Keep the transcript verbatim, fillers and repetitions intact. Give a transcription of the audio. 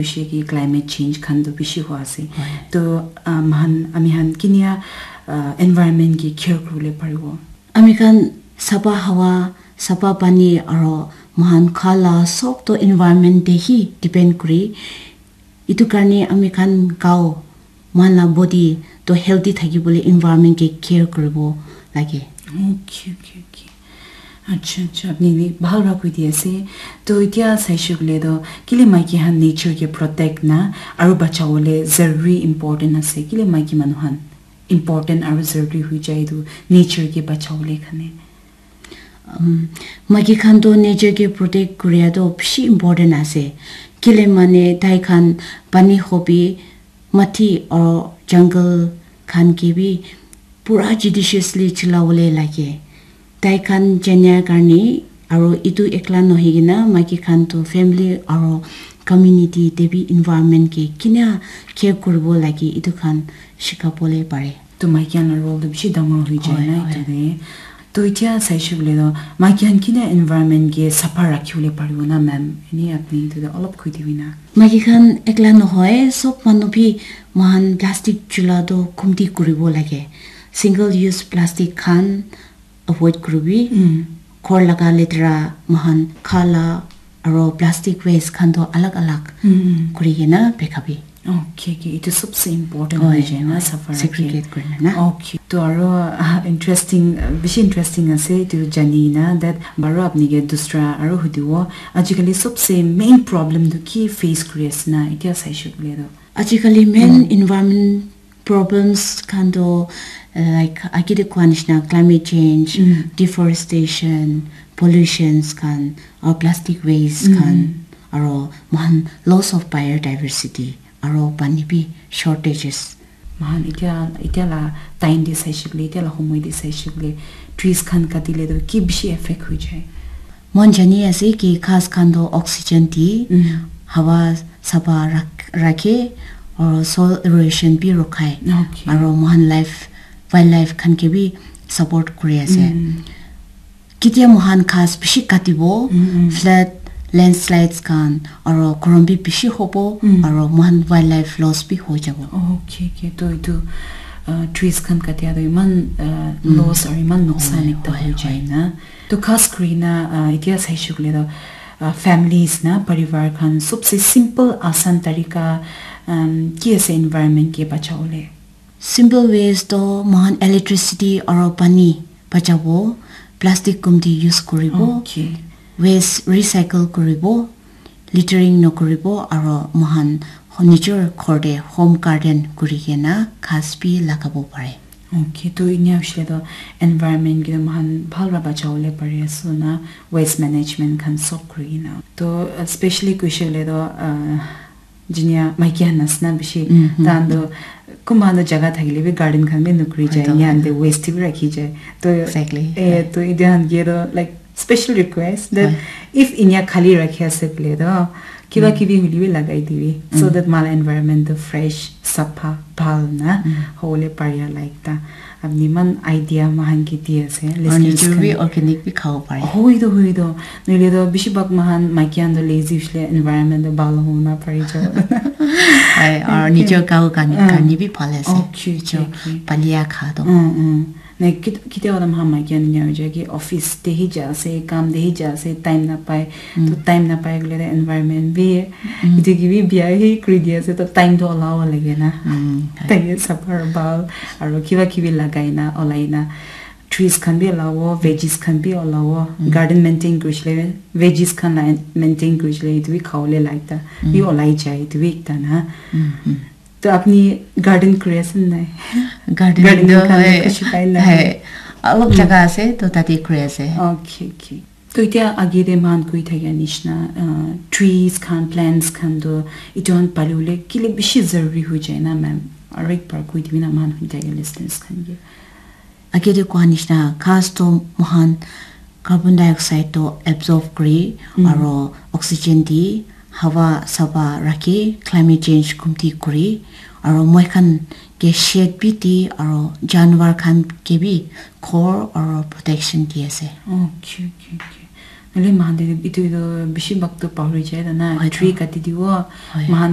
Bishi ki climate change khan tu bishi hua ase. To, ah, mahan, ami han kinia, ah, environment ki care kuribole paribo? Ami khan sapa hawa, sapa pani aro mohan kha la sob to environment te hi depend kuri. Itu karne ami khan gao, mohan la body to healthy thakibole environment ke care kuribo lage. Okay, okay, okay. Acha, acha, apni bi bhal para koi di ase. To itia saishe koile to, kile maiki khan nature ke protect na aru bachawole zaruri important ase? Kile maiki manu khan important aru zaruri hoi jai etu nature ke bachawole karne? Um, maiki khan to nature ke protect kuria to bishi important ase. Kile mane tai khan pani hobi, mati or jungle khan ke bi pura judiciously chulawole lage. Tai khan jania karne aro itu ekla nohoi kena maiki khan to family aro community te bi environment ke kina care kuribo lage itu khan shikabole pare. To maiki khan la role to bishi dangor hoi jai na itu te. To itia saishe koile to maiki khan kina environment ke sapha rakhiwole paribo na, ma'am? Eni apni itu te olop koi dibi na. Maiki khan ekla nohoi, sob manu bi mohan plastic chula to kumti kuribo lage. Single use plastic khan avoid kuribi. Ghor laga letera mohan kha la aro plastic waste khan to alag alag kuri kena pekabi. Okay, okay. Itu sobse important hoi jai na, sapha rakhe. Segregate kurina na. Okay. To aro, ah, interesting, ah, bishi interesting ase itu jani na, that baro apni ke dusra aro hudibo. Ajikali sobse main problem tu ki face kuri ase na, itia saishe koile to? Ajikali main environment problems khan to, uh, like, agi de kua nishina climate change, deforestation, pollutions khan, or plastic waste khan, aro mohan loss of biodiversity, aro pani bi shortages. Mohan itia, itia la time de saishe koile, itia la homoi de saishe koile, trees khan katile to ki bishi effect hoi jai? Mohan jani ase ki ghas khan to oxygen di, hawa sapha rak-, rakhe, aro soil erosion bi rokhai, aro mohan life, wildlife khan ke bi support kuri ase. Ketia mohan ghas bishi katibo, flood, landslides khan, aro gorom bi bishi hobo, aro mohan wildlife loss bi hoi jabo. Okay, okay. To itu, uh, trees khan katia to iman, uh, loss aro iman nuksan ekta hoi jai na. To khas kuri na, ah, itia saishe koile to, ah, families na, parivar khan sobse simple asan tarika, um, ki ase environment ke bachawole? Simple ways to mohan electricity aro pani bachabo, plastic kumti use kuribo, waste recycle kuribo, littering nokuribo, aro mohan ho-, nijor ghor te home garden kuri kena ghas bi lagabo pare. Okay, to inia hoishe to environment ke to mohan bhal para bachawole pari ase na, waste management khan sob kuri kena. To, uh, specially koishe koile to, uh, jinia maiki khan ase na bishi, tahan to kunba khan to jaga thakile bi garden khan bi nukuri jai, inia khan te waste bi rakhi jai. To, exactly, eh, to itia khan ke to, like, special request that if inia khali rakhi ase koile to, kiba kibi hoile bi lagai dibi, so that mohan la environment to fresh, sapha, bhal na hobole paria la ekta. Apni iman idea mohan ke di ase, listeners khan. Aru nijor bi organic bi khabo pare. Hoi to, hoi to. Nohole to bishi bhag mohan maiki khan to lazy hoishe le environment to bhal hobo na pari jabo. Hai, aru nijor gao khan, karne bi bhal ase. Okay, okay, okay. Palia kha to. Mm, mm. Like, kit-, kitiaba to mohan maiki khan enia hoi jai ki office te hi ja ase, kam te hi ja ase, time napai. To time napai koile to environment bi, etu ke bi bia hi kuri di ase, to time to olabo lage na. Tai ke sapha bhal, aru kiba kibi lagai na, olai na, trees khan bi olabo, veggies khan bi olabo, garden maintain kurishe le, veggies khan la maintain kurishe le, etu bi khabole la ekta bi olai jai, etu bi ekta na. To apni garden kuri ase nai? Garden toh khan hoi, khushi pai na? Hai, olop jaga ase, to tate kuri ase. Okay, okay. To itia age te mohan koi thakia nishina, uh, trees khan, plants khan to etu khan pali bole kile bishi zaruri hoi jai na, ma'am? Aru ek bar koi dibi na, mohan hoi thakia listeners khan ke. Age te koa nishina, ghas to mohan carbon dioxide to absorb kuri, aro oxygen di, hawa sapha rakhi, climate change kumti kuri, aro moi khan ke shade bi di, aro janwar khan ke bi ghor aro protection di ase. Okay, okay, okay. Hoile moikhan te etu, etu bishi bhag tu pahori jai na, Hoi, tree to. Kati dibo, Hoi. Moikhan